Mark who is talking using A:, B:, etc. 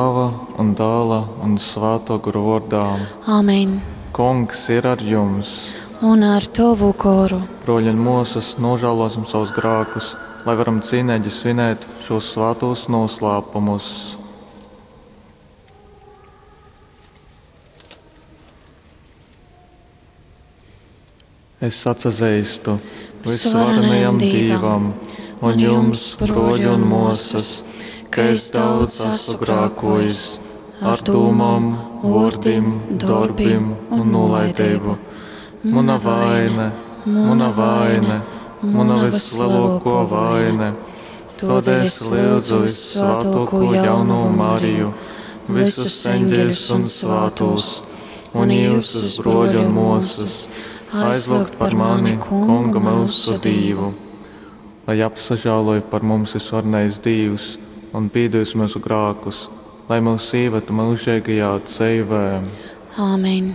A: Tāva un Dāla un Svātō Gora vōrdā.
B: Amen.
A: Kungs ir ar jums!
B: Un ar tovu goru.
A: Brōļi un mōsas, nūžālōsim savus grākus, lai varam cīneigi svinēt šūs svātūs nūslāpumus. Es atsazeistu
B: Visuvarenajam Dīvam
A: un jums, brōļi un mōsas, ka es daudz esmu grākojis ar dūmom, vōrdim, dorbim un nūlaideibu. Muna vaine, muna vaine, muna vislielākā vaine. Tādēļ es lūdzu vissvētāko jauno Mariju, visus eņģeļus un svātos, un jūsus brōļu un māsas, aizlūgt par mani Kungu mūsu Dīvu. Lai apsažāloj par mums visvarenais Dīvs un pīdūs mūsu grākus, lai mūs ieved mūžīgajā dzīvē.
B: Āmen.